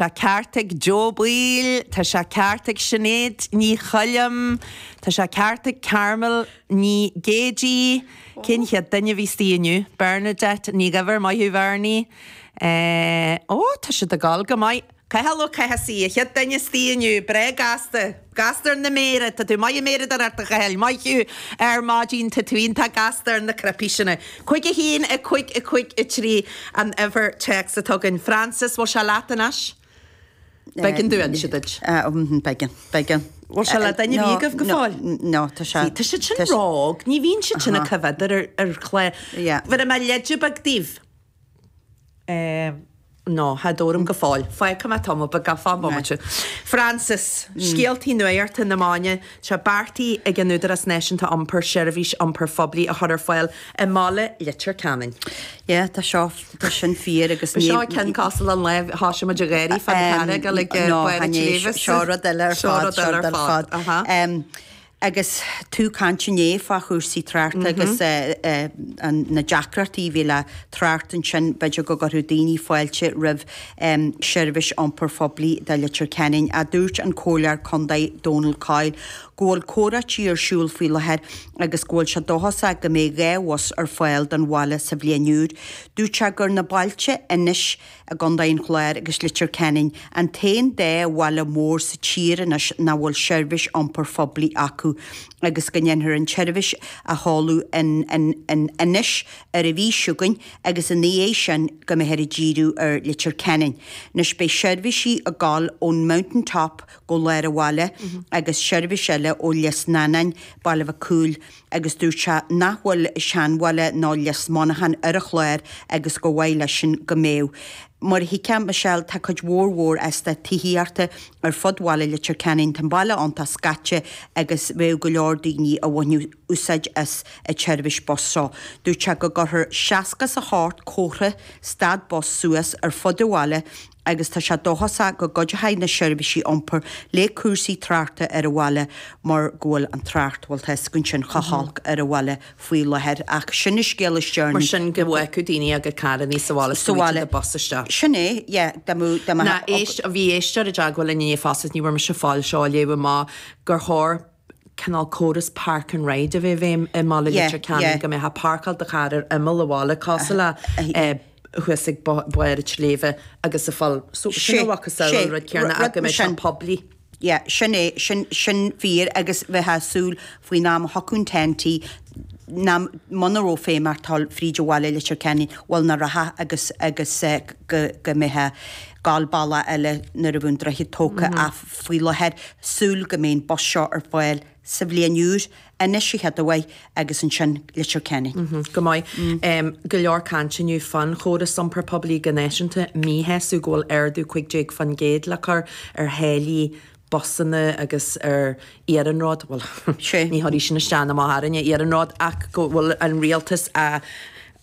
Tá ceart ag Joe Baoill, tá sé ceart ag Sinéad Ní Choilm, tá sé ceart ag Carmel Ní Géidigh. Cén chéad duine a bhí istigh inniu? Bernadette Ní Dhuibhir, maith thú Bhernie. Ó, tá siad ag dul go maith. Cathal Ó Cathasaigh, an chéad duine istigh inniu, breá gasta. Gasta ar na méara, tá tú maith ag méaradóireacht a Chathail, maith thú ar maidin, tá tú iontach gasta ar na cnaipí sin. 5 1 5 5 3 an uimhir téacs atá againn. Frances, bhfuil sé leat anois? B'éigean domh inse duit. B'éigean, b'éigean. Bhfuil sé le duine ar bith agaibh go fóill? No, tá sé. Tá siad sin ró-óg, ní bhíonn siad sin ag coimhéad ar ar chlár. Bhéarfaidh mé leide beag daoibh. No, tá orm go fóill. Fágfaidh mé tamall beag gan fán bomaite. Frances, Scéaltaí nuachta na maidine, tá beartaithe ag an Údarás Náisiúnta Iompair seirbhís iompair phoiblí a chur ar fáil i mbaile Leitir Ceanainn. Yeah, tá seo, tá sin fíor agus ní. Seo ceann cosúil an lá a thosaigh muid ag gáirí fán charr ag dul ag Barr an tSléibhe. Seo rud eile ar fad, seo rud eile ar fad. Agus tú ag caint inné fá chúrsaí tráchta agus na deacrachtaí a bhí le trácht ansin, b'fhéidir go gcuirfeadh daoine fáilte roimh seirbhís iompair phoiblí do Leitir Ceanainn. Ach dúirt an Comhairleoir Contae Donal Coyle go bhfuil comhráití ar siúl faoi láthair agus go bhfuil sé dóchasach go mbeidh 2 bhus ar fáil don bhaile sa bhliain úr. Dúirt sé gur na bailte anois i gContae an Chláir agus Leitir Ceanainn, an t-aon dá bhaile mór sa tír anois nach bhfuil seirbhís iompair phoiblí acu agus go ndéanfar an tseirbhís a sheoladh in Inis ar an mhí seo chugainn agus ina dhiaidh sin go mbeifear ag díriú ar Leitir Ceanainn. Anois beidh seirbhísí ag gabháil ón Mountain Top go lár an bhaile agus seirbhís eile ó Lios Neanáin, Baile Mhic Cumhaill, agus dúirt sé nach bhfuil Seanbhaile nó Lios Monacháin ar an chlár agus gur mhaith leisean go mbeadh. Mar a thuigfeá, Michelle, tá cuid mhór mhór eastát tithíochta ar fud bhaile Leitir Ceanainn, tá an baile iontach scaite agus bheadh go leor daoine a bhainfeadh úsáid as an tseirbhís bus seo. Dúirt sé go gcuirfear 68 comhartha stad bus suas ar fud an bhaile agus tá sé dóchasach go gcuideoidh na seirbhísí iompair le cúrsaí tráchta ar an bhaile mar go bhfuil an trácht, bhuel tá a fhios againn sin, chomh holc ar an bhaile faoi láthair. Ach sin an scéal is deireanaí. Mar sin go bhfágfadh daoine a gcuid carrannaí sa bhaile is go bhfaighidh siad an bus isteach. Sin é, yeah, dá mbeadh, dá mbeadh. Ná éist, bhí éisteoir i dteagmháil linn inné fosta, ní bhfuair mise fáil seo a léamh amach, gur chóir cineál córas park and ride a bheith i bhfeidhm i mbaile Leitir Ceanainn, go mbeifeá ag páirceáil do charr ar imeall an bhaile, cosúil le thuas ag barr an tsléibhe agus a fáil. So sin a mhacasamhail an rud céanna ach go mbeadh sé poiblí. Yeah, sin é, sin, sin fíor agus bheifeá ag súil faoin am a thiocfadh an TEN-T ná muna raibh feidhm ort dul fríd bhaile Leitir Ceanainn, bhuel nach rachfá agus, agus go, go mbeifeá ag gabháil bealach eile nuair a bheadh an droichead tógtha ach faoi láthair, súil go mbeidh an bus seo ar fáil sa bhliain úr, Inis an chéad uair agus ansin Leitir Ceanainn. Go maith. Go leor cainte inniu fán chóras iompair poiblí go náisiúnta, míshásamh go bhfuil ardú 15% le cur ar tháillí busanna agus ar iarnród, bhuel, ní chuirfidh sin isteach ná amach orainne, iarnród, ach go bhfuil an rialtas á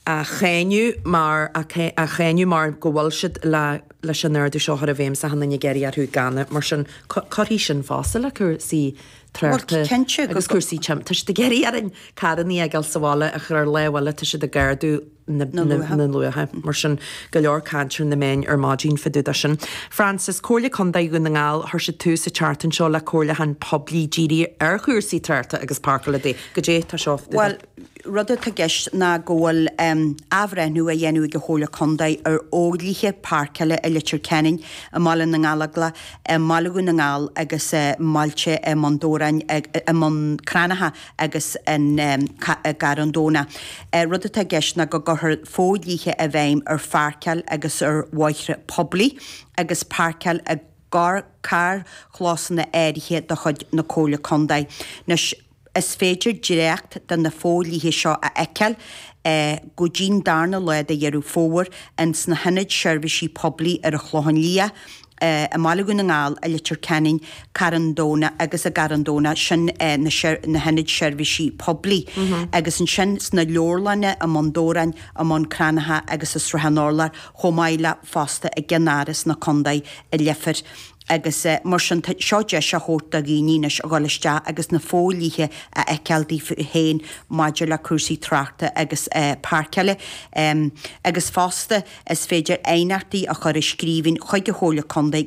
á cháineadh mar á cháineadh mar go bhfuil siad le leis an ardú seo a chur i bhfeidhm is achan duine ag iarraidh orthu gan mar sin cuirfidh sin fosta le cúrsaí tráchta agus cúrsaí tim tá siad ag iarraidh orainn carrannaí a fhágáil sa bhaile ach ar an lámh eile tá siad ag ardú na na luacha mar sin go leor caint ar na meáin ar maidin fá dtaobh de sin. Frances, Comhairle Contae Dhún na nGall, chuir siad tús an tseachtain seo le comhairliúchán poiblí dírithe ar chúrsaí tráchta agus páirceála goidé tá seo Bhuel, rud atá i gceist ná go bhfuil athbhreithniú á dhéanamh ag an Chomhairle Contae ar fhodhlíthe páirceála i Leitir Ceanainn, i mBaile na nGallóglach, i mBaile Dhún na nGall agus i mbailte i mBun Dobhráin, i mBun Cranncha agus i gCarn Domhnach. Rud atá i gceist ná go gcuirfear fodhlíthe i bhfeidhm ar pháirceáil agus ar bhóithre poiblí agus páirceáil i gcarrchlósanna áirithe de chuid na Comhairle Contae. Anois. Is féidir dréacht de na fodhlíthe seo a fheiceáil go dtí'n darna lá de Dheireadh Fómhair ins na hIonaid Seirbhísí Poiblí ar an Chlochán Liath, i mBaile Dhún na nGall, i Leitir Ceanainn, Carn Domhnach agus i gCarn Domhnach, sin na hIonaid Seirbhísí Poiblí, agus ansin sna leabharlanna i mBun Dobhráin, i mBun Cranncha agus i Srath an Urláir, chomh maith le fosta i gceannáras na Contae i Leifear. Agus mar sin, tá seo deis á thabhairt do dhaoine anois a dhul isteach agus na fodhlíthe a fheiceáil daofa féin maidir le cúrsaí tráchta agus páirceála. Agus fosta, is féidir aighneachtaí a chur i scríbhinn chuig an Chomhairle Contae go.